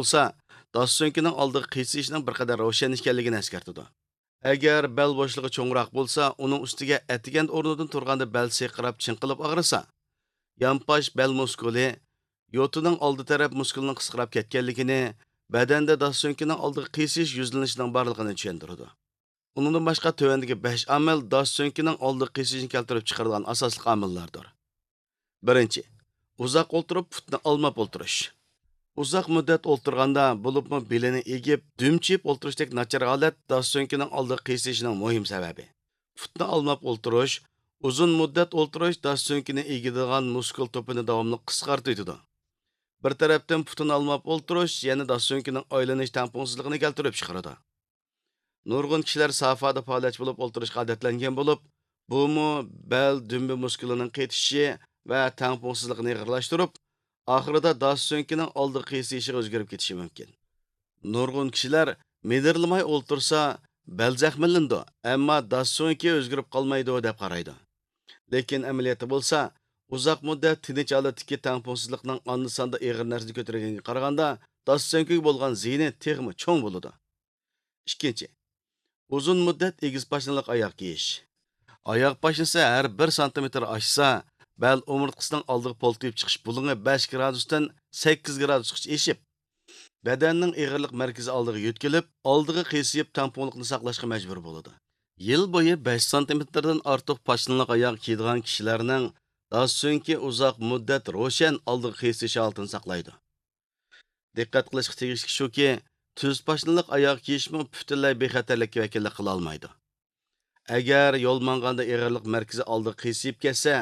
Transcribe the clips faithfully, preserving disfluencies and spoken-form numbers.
بولسا، داس سۆڭىكىنىڭ ئالدىغا قىيسىيىشنىڭ بىر قەدەر روشەنلىشكەنلىكىنى ئەسكەرتىدۇ. ئەگەر بەل بوشلۇقى چوڭراق بولسا، ئۇنىڭ ئۈستىگە ئەتىگەندە ئورنىدىن تۇرغاندا بەل سىرقىراپ چىڭقىلىپ ئاغرىسا، يانپاش بەل مۇسكۇلى، يوتىنىڭ ئالدى تەرەپ مۇسكۇلىنىڭ قىسقىراپ كەتكەنلىكىنى، بەدەندە داس سۆڭىكىنىڭ ئالدىغا قىيسىيىش يۈزلىنىشىنىڭ بارلىقىنى چۈشەندۈرىدۇ. ئۇنىڭدىن باشقا تۆۋەندىكى بەش ئامىل داس سۆڭىكىنىڭ ئالدىغا قىيسىيىشنى كەلتۈرۈپ چىقىرىدىغان ئاساسلىق ئامىللاردۇر. بىرىنچى، ئۇزاق ئولتۇرۇپ پۇتنى ئالماپ ئولتۇرۇش. ئۇزاق مۇددەت ئولتۇرغاندا، بولۇپمۇ بېلىنى ئېگىپ، دۈمچىيىپ ئولتۇرۇشتەك ناچار ھالەت داس سۆڭىكىنىڭ ئالدىغا قىيسىيىشىنىڭ مۇھىم سەۋەبى. پۇتنى ئالماپ ئولتۇرۇش، ئۇزۇن مۇددەت ئولتۇرۇش داس سۆڭىكىنى ئېگىدىدىغان مۇسكۇل توپىنى داۋاملىق قىسقارتىۋېتىدۇ. بىر تەرەپتىن پۇتىنى ئالماپ ئولتۇرۇش يەنە داس سۆڭىكىنىڭ ئايلىنىش تەڭپۇڭسىزلىقىنى كەلتۈرۈپ چىقىرىدۇ. نۇرغۇن كىشىلەر سافادا پائالىيەتچى بولۇپ ئولتۇرۇشقا ئادەتلەنگەن بولۇپ، بۇمۇ بەل دۈمبە مۇسكۇلىنىڭ قېتىشىشى ۋە تەڭپۇڭسىزلىقىنى ئېغىرلاشتۇرۇپ، ئاخىرىدا داس سۆڭىكىنىڭ ئالدىغا قىيسىيىشىغا ئۆزگىرىپ كېتىشى مۇمكىن. نۇرغۇن كىشىلەر مىدىرلىماي ئولتۇرسا، بەل زەخىملىنىدۇ، ئەمما داس سۆڭىكى ئۆزگىرىپ قالمايدۇ، دەپ قارايدۇ. لېكىن ئەمەلىيەتتە بولسا، ئۇزاق مۇددەت تىنچ ھالەتتىكى تەڭپۇڭسىزلىقنىڭ ئاندا-ساندا ئېغىر نەرسىنى كۆتۈرگەنگە قارىغاندا، داس سۆڭىكىگە بولغان زىيىنى تېخىمۇ چوڭ بولىدۇ. ئىككىنچى، ئۇزۇن مۇددەت ئېگىز پاشنىلىق ئاياغ كىيىش. ئاياغ پاشنىسى ھەر بىر سانتىمېتىر ئاشسا، بەل ئومۇرتقىسىنىڭ ئالدىغا پولتىيىپ چىقىش بۇلۇڭى بەش گرادۇستىن سەككىز گرادۇسقىچە ئېشىپ، بەدەننىڭ ئېغىرلىق مەركىزى ئالدىغا يۆتكىلىپ، ئالدىغا قىيسىيىپ تەڭپۇڭلۇقنى ساقلاشقا مەجبۇر بولىدۇ. يىل بويى بەش سانتىمېتىردىن ئارتۇق پاشنىلىق ئاياغ كىيىدىغان كىشىلەرنىڭ داس سۆڭىكى ئۇزاق مۇددەت روشەن ئالدىغا قىيسىيىش ھالىتىنى ساقلايدۇ. دىققەت قىلىشقا تېگىشلىك شۇكى، تۈز پاشنىلىق ئاياغ كىيىشمۇ پۈتۈنلەي بىخەتەرلىككە ۋەكىللىك قىلالمايدۇ. ئەگەر يول ماڭغاندا ئېغىرلىق مەركىزى ئالدىغا قىيسىيىپ كەتسە،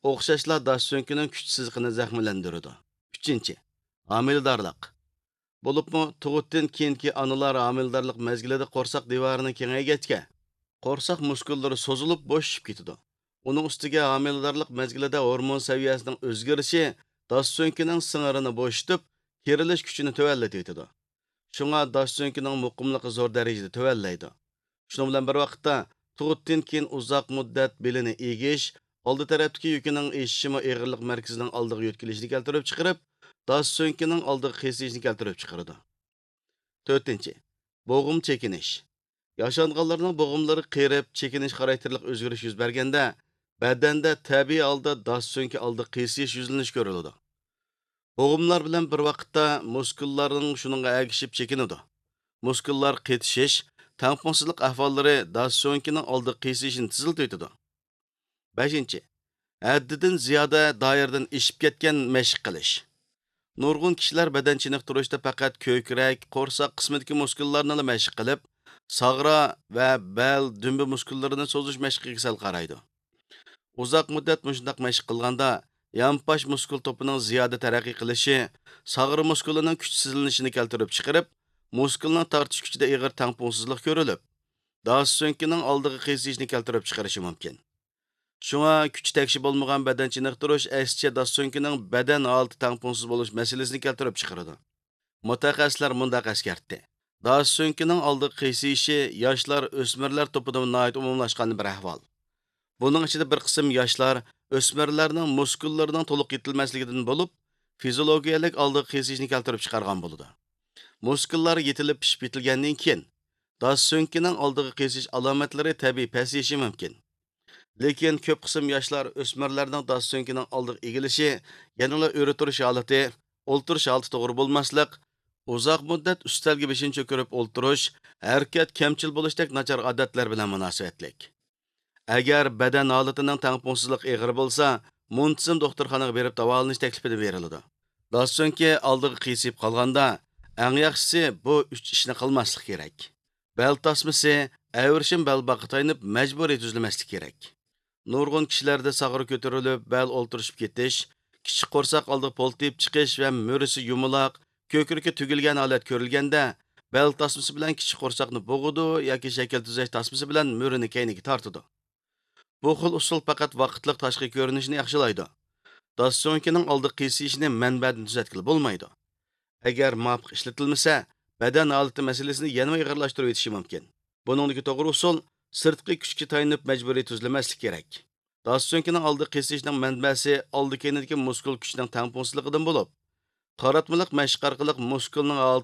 ئوخشاشلا داس سۆڭىكىنىڭ كۈچ سىزىقىنى زەخىملەندۈرىدۇ. ئۈچىنچى، ھامىلىدارلىق. بولۇپمۇ تۇغۇتتىن كېيىنكى ئانىلار ھامىلىدارلىق مەزگىلىدە قورساق دىۋارىنى كېڭەيگەچكە، قورساق مۇسكۇللىرى سوزۇلۇپ بوشىشىپ كېتىدۇ. ئۇنىڭ ئۈستىگە ھامىلىدارلىق مەزگىلىدە ھورمون سەۋىيەسىنىڭ ئۆزگىرىشى داس سۆڭىكىنىڭ سىڭىرىنى بوشىتىپ، كېرىلىش كۈچىنى تۆۋەنلىتىۋېتىدۇ. شۇڭا داس سۆڭىكىنىڭ مۇقىملىقى زور دەرىجىدە تۆۋەنلەيدۇ. شۇنىڭ بىلەن بىر ۋاقىتتا، تۇغۇتتىن كېيىن ئۇزاق مۇددەت بېلىنى ئېگىش، ئالدى تەرەپتىكى يۈكىنىڭ ئېشىشىمۇ ئېغىرلىق مەركىزىنىڭ ئالدىغا يۆتكىلىشىنى كەلتۈرۈپ چىقىرىپ، داس سۆڭىكىنىڭ ئالدىغا قىيسىيىشنى كەلتۈرۈپ چىقىرىدۇ. تۆتىنچى، بوغۇم چېكىنىش. ياشانغانلارنىڭ بوغۇملىرى قېرىپ، چېكىنىش خاراكتېرلىق ئۆزگىرىش يۈز بەرگەندە، بەدەندە تەبىئىي ھالدا داس سۆڭىكى ئالدىغا قىيسىيىش يۈزلىنىشى كۆرۈلىدۇ. بوغۇملار بىلەن بىر ۋاقىتتا مۇسكۇللارنىڭ شۇنىڭغا ئەگىشىپ چېكىنىدۇ. مۇسكۇللار قېتىشىش، تەڭپۇڭسىزلىق ئەھۋاللىرى داس سۆڭىكىنىڭ ئالدىغا قىيسىيىشىنى تېزلىتىۋېتىدۇ. بەشىنچى، ھەددىدىن زىيادە دائىرىدىن ئېشىپ كەتكەن مەشىق قىلىش. نۇرغۇن كىشىلەر بەدەن چېنىقتۇرۇشتا پەقەت كۆكرەك، قورساق قىسمىدىكى مۇسكۇللارنىلا مەشىق قىلىپ، ساغرا ۋە بەل، دۈمبە مۇسكۇللىرىنى سوزۇش مەشقىگە سەل قارايدۇ. ئۇزاق مۇددەت مۇشۇنداق مەشىق قىلغاندا، يانپاش مۇسكۇل توپىنىڭ زىيادە تەرەققىي قىلىشى ساغرا مۇسكۇلىنىڭ كۈچسىزلىنىشىنى كەلتۈرۈپ چىقىرىپ، مۇسكۇلنىڭ تارتىش كۈچىدە ئېغىر تەڭپۇڭسىزلىق كۆرۈلۈپ، داس سۆڭىكىنىڭ ئالدىغا قىيسىيىشنى كەلتۈرۈپ چىقىرىشى مۇمكىن. شۇڭا كۈچى تەگشى بولمىغان بەدەن چېنىقتۇرۇش ئەكسىچە داس سۆڭىكىنىڭ بەدەن ھالىتى تەڭپۇڭسىز بولۇش مەسىلىسىنى كەلتۈرۈپ چىقىرىدۇ. مۇتەخەسسىسلەر مۇنداق ئەسكەرتتى: داس سۆڭىكىنىڭ ئالدىغا قىيسىيىشى ياشلار، ئۆسمۈرلەر توپىدا ناھايىتى ئومۇملاشقان بىر ئەھۋال. بۇنىڭ ئىچىدە بىر قىسىم ياشلار، ئۆسمۈرلەرنىڭ مۇسكۇللىرىنىڭ تولۇق يېتىلمەسلىكىدىن بولۇپ، فىزىولوگىيەلىك ئالدىغا قىيسىيىشنى كەلتۈرۈپ چىقارغان بولىدۇ. مۇسكۇللار يېتىلىپ پىشىپ يېتىلگەندىن كېيىن، داس سۆڭىكىنىڭ ئالدىغا قىيسىيىش ئالامەتلىرى تەبىئىي پەسىيىشى مۇمكىن. لېكىن كۆپ قىسىم ياشلار ئۆسمۈرلەرنىڭ داس سۆڭىكىنىڭ ئالدىغا ئېگىلىشى، يەنىلا ئۆرە تۇرۇش ھالىتى، ئولتۇرۇش ھالىتى توغرا بولماسلىق، ئۇزاق مۇددەت ئۈستەلگە بېشىنى چۆكۈرۈپ ئولتۇرۇش، ھەرىكەت كەمچىل بولۇشتەك ناچار ئادەتلەر بىلەن مۇناسىۋەتلىك. ئەگەر بەدەن ھالىتىنىڭ تەڭپۇڭسىزلىقى ئېغىر بولسا، مۇنتىزىم دوختۇرخانىغا بېرىپ داۋالىنىش تەكلىپىنى بېرىلىدۇ. داس سۆڭىكى ئالدىغا قىيسىيىپ قالغاندا، ئەڭ ياخشىسى بۇ ئۈچ ئىشنى قىلماسلىق كېرەك. بەل تاسمىسى، ئەۋرىشىم بەلباغقا تايىنىپ مەجبۇرىي تۈزلىمەسلىك كېرەك. نۇرغۇن كىشىلەردە ساغرا كۆتۈرۈلۈپ، بەل ئولتۇرۇشۇپ كېتىش، كىچىك قورساق ئالدىغا پولتىيىپ چىقىش ۋە مۈرىسى يۇمىلاق، كۆكرىكى تۈگۈلگەن ھالەت كۆرۈلگەندە، بەل تاسمىسى بىلەن كىچىك قورساقنى بوغىدۇ ياكى شەكىل تۈزەش تاسمىسى بىلەن مۈرىنى كەينىگە تارتىدۇ. بۇ خىل ئۇسۇل پەقەت ۋاقىتلىق تاشقى كۆرۈنۈشنى ياخشىلايدۇ. داس سۆڭىكىنىڭ ئالدى قىيسىيىشىنى مەنبەدىن تۈزەتكىلى بولمايدۇ. ئەگەر مۇۋاپىق ئىشلىتىلمىسە، بەدەن ھالىتى مەسىلىسىنى يەنىمۇ ئېغىرلاشتۇرۇۋېتىشى مۇمكىن. بۇنىڭدىكى توغرا ئۇسۇل، سىرتقى كۈچكە تايىنىپ مەجبۇرىي تۈزلىمەسلىك كېرەك. داس سۆڭىكىنىڭ ئالدى قىيسىيىشنىڭ مەنبەسى ئالدى كەينىدىكى مۇسكۇل كۈچىنىڭ تەڭپۇڭسىزلىقىدىن بولۇپ، قاراتمىلىق مەشىق ئارقىلىق مۇسكۇلنىڭ ھالىتى